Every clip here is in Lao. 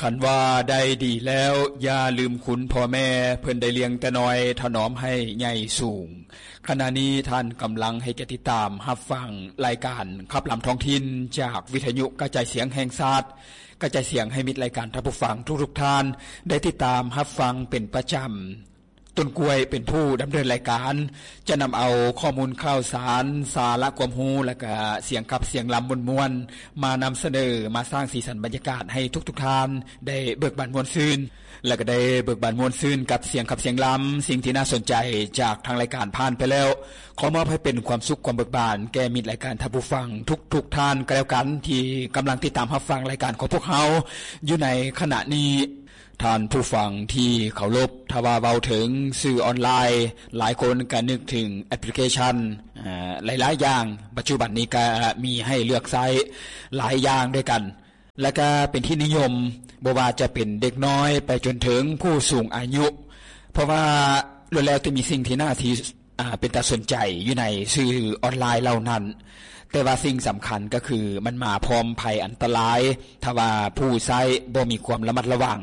ຄັນວ່າໄດ້ດີແລ້ວ ຢ່າລືມຄຸນພໍ່ແມ່ ເພິ່ນໄດ້ລ້ຽງແຕ່ນ້ອຍ ຖະໜອມໃຫ້ໃຫຍ່ສູງ. ຂະນະນີ້ທ່ານກຳລັງໃຫ້ກຽດຕິດຕາມຮັບຟັງລາຍການຂັບລຳທ້ອງຖິ່ນ ຈາກວິທະຍຸກະຈາຍສຽງແຫ່ງຊາດ, ກະຈາຍສຽງໃຫ້ມິດລາຍການທ່ານຜູ້ຟັງທຸກໆທ່ານ ໄດ້ຕິດຕາມຮັບຟັງເປັນປະຈຳ. ຕົ້ນກ້ວຍເປັນຜູ້ດຳເນີນລາຍການ ຈະນຳເອົາຂໍ້ມູນຂ່າວສານ, ສາລະຄວາມຮູ້ ແລະກະສຽງຂັບສຽງລຳມ່ວນໆ ມານຳສະເໜີ, ມາສ້າງສີສັນບັນຍາກາດໃຫ້ທຸກໆທ່ານໄດ້ເບີກບານມ່ວນຊື່ນ ແລະກະໄດ້ເບີກບານມ່ວນຊື່ນກັບສຽງຂັບສຽງລຳ. ສິ່ງທີ່ໜ້າສົນໃຈຈາກທາງລາຍການຜ່ານໄປແລ້ວ ຂໍມອບໃຫ້ເປັນຄວາມສຸກຄວາມເບີກບານແກ່ມິດລາຍການທ່ານຜູ້ຟັງທຸກໆທ່ານກໍແລ້ວກັນ ທີ່ກຳລັງຕິດຕາມຮັບຟັງລາຍການຂອງພວກເຮົາຢູ່ໃນຂະນະນີ້. ທ່ານຜູ້ຟັງທີ່ເຄົາລົບ, ຖ້າວ່າເວົ້າເຖິງສື່ອອນລາຍ, ຫຼາຍຄົນກໍນຶກເຖິງແອັບພລິເຄຊັນ, ເອີ, ຫຼາຍໆຢ່າງ. ປັດຈຸບັນນີ້ກໍມີໃຫ້ເລືອກໃຊ້ຫຼາຍຢ່າງດ້ວຍກັນ ແລະກໍເປັນທີ່ນິຍົມ, ບໍ່ວ່າຈະເປັນເດັກນ້ອຍໄປຈົນເຖິງຜູ້ສູງອາຍຸ, ເພາະວ່າລ້ວນແລ້ວແຕ່ມີສິ່ງທີ່ໜ້າທີ່ ອ່າ ເປັນຕາສົນໃຈຢູ່ໃນສື່ອອນລາຍເຫຼົ່ານັ້ນ, ແຕ່ວ່າສິ່ງສຳຄັນກໍຄືມັນມາພ້ອມໄພອັນຕະລາຍ ຖ້າວ່າຜູ້ໃຊ້ບໍ່ມີຄວາມລະມັດລະວັງ,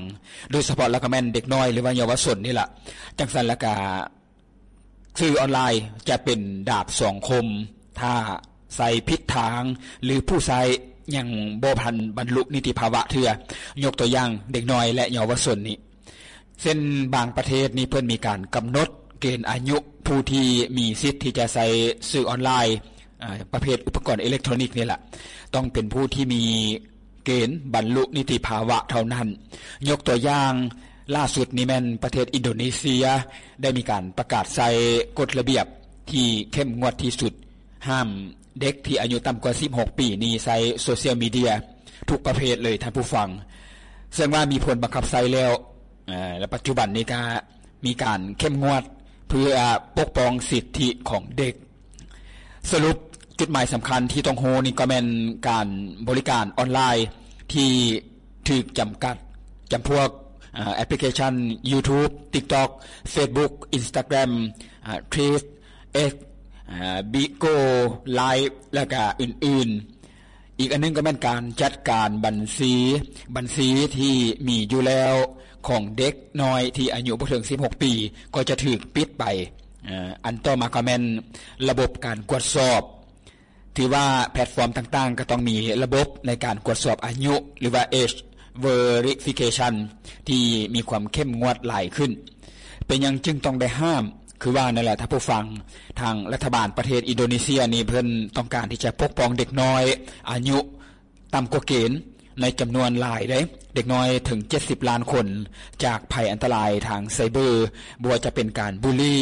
ໂດຍສະເພາະແລ້ວກໍແມ່ນເດັກນ້ອຍ ຫຼືວ່າເຍົາວະຊົນນີ້ລະ. ຈັ່ງຊັ້ນແລ້ວກໍສື່ອອນລາຍຈະເປັນດາບສອງຄົມ ຖ້າໃຊ້ຜິດທາງ ຫຼືຜູ້ໃຊ້ຍັງບໍ່ທັນບັນລຸນິຕິພາວະເທື່ອ, ຍົກຕົວຢ່າງເດັກນ້ອຍ ແລະ ເຍົາວະຊົນນີ້. ເຊັ່ນບາງປະເທດນີ້ເພິ່ນມີການກຳນົດເກນອາຍຸຜູ້ທີ່ມີສິດທີ່ຈະໃຊ້ສື່ອອນລາຍ, ອາ, ປະເພດອຸປະກອນເອເລັກໂທຣນິກນີ້ລະ ຕ້ອງເປັນຜູ້ທີ່ມີເກນບັນລຸນິຕິພາວະເທົ່ານັ້ນ. ຍົກຕົວຢ່າງລ່າສຸດນີ້ແມ່ນປະເທດອິນໂດເນເຊຍ ໄດ້ມີການປະກາດໃຊ້ກົດລະບຽບທີ່ເຂັ້ມງວດທີ່ສຸດ ຫ້າມເດັກທີ່ອາຍຸຕ່ຳກວ່າສິບຫົກປີນີ້ໃຊ້ໂຊຊຽວມີເດຍທຸກປະເພດເລີຍທ່ານຜູ້ຟັງ, ເຊິ່ງວ່າມີຜົນບັງຄັບໃຊ້ແລ້ວ ແລະ ປັດຈຸບັນນີ້ກໍມີການເຂັ້ມງວດເພື່ອປົກປ້ອງສິດທິຂອງເດັກ. ສະຫຼຸບ, ຈຸດໝາຍສຳຄັນທີ່ຕ້ອງຮູ້ນີ້ກໍແມ່ນການບໍລິການອອນລາຍທີ່ຖືກຈຳກັດ, ຈຳພວກ ແອັບພລິເຄຊັນ YouTube, TikTok, Facebook, Instagram, Threads, X, Bigo, Line ແລະກະອື່ນໆ. ອີກອັນໜຶ່ງກໍແມ່ນການຈັດການບັນຊີ, ບັນຊີທີ່ມີຢູ່ແລ້ວຂອງເດັກນ້ອຍທີ່ອາຍຸບໍ່ເຖິງສິບຫົກປີ ກໍຈະຖືກປິດໄປ. ອັນຕໍ່ມາກໍແມ່ນລະບົບການກວດສອບ. ຖືວ່າແພລດຟອມຕ່າງໆກໍຕ້ອງມີລະບົບໃນການກວດສອບອາຍຸ ຫຼືວ່າ Age Verification ທີ່ມີຄວາມເຂັ້ມງວດຫຼາຍຂຶ້ນ. ເປັນຫຍັງຈຶ່ງຕ້ອງໄດ້ຫ້າມ? ຄືວ່ານັ້ນແຫຼະທ່ານຜູ້ຟັງ, ທາງລັດຖະບານປະເທດອິນໂດເນເຊຍນີ້ເພິ່ນຕ້ອງການທີ່ຈະປົກປ້ອງເດັກນ້ອຍອາຍຸຕ່ຳກວ່າເກນໃນຈຳນວນຫຼາຍເດ້, ເດັກນ້ອຍເຖິງເຈັດສິບລ້ານຄົນ ຈາກໄພອັນຕະລາຍທາງໄຊເບີ, ບໍ່ວ່າຈະເປັນການບູລີ,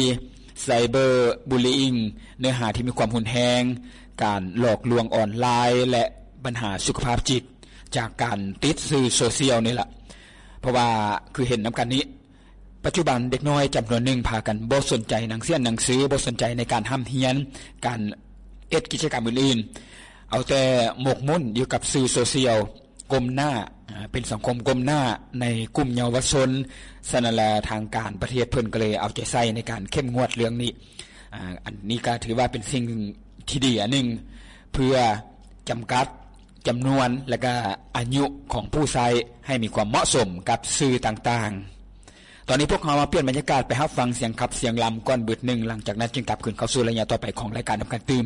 Cyberbullying, ເນື້ອຫາທີ່ມີຄວາມຮຸນແຮງ, ການຫຼອກລວງອອນລາຍ ແລະ ບັນຫາສຸຂະພາບຈິດຈາກການຕິດສື່ໂຊຊຽວນີ້ລະ. ເພາະວ່າຄືເຫັນນຳກັນນີ້, ປັດຈຸບັນເດັກນ້ອຍຈຳນວນໜຶ່ງພາກັນບໍ່ສົນໃຈໜັງສຽນໜັງສື, ບໍ່ສົນໃຈໃນການຮ່ຳຮຽນ, ການເຮັດກິດຈະກຳອື່ນໆ, ເອົາແຕ່ໝົກໝຸ້ນຢູ່ກັບສື່ໂຊຊຽວ, ກົ້ມໜ້າ, ເປັນສັງຄົມກົ້ມໜ້າໃນກຸ່ມເຍົາວະຊົນ. ສະນັ້ນລະ ທາງການປະເທດເພິ່ນກໍເລີຍເອົາໃຈໃສ່ໃນການເຂັ້ມງວດເລື່ອງນີ້. ອັນນີ້ກໍຖືວ່າເປັນສິ່ງທີ່ດີອັນໜຶ່ງ ເພື່ອຈຳກັດຈຳນວນ ແລະກະອາຍຸຂອງຜູ້ໃຊ້ໃຫ້ມີຄວາມເໝາະສົມກັບສື່ຕ່າງໆ. ຕອນນີ້ພວກເຮົາມາປ່ຽນບັນຍາກາດໄປຮັບຟັງສຽງຂັບສຽງລຳກ່ອນບຶດໜຶ່ງ, ຫຼັງຈາກນັ້ນຈຶ່ງກັບຄືນເຂົ້າສູ່ໄລຍະຕໍ່ໄປຂອງລາຍການນຳກັນຕື່ມ.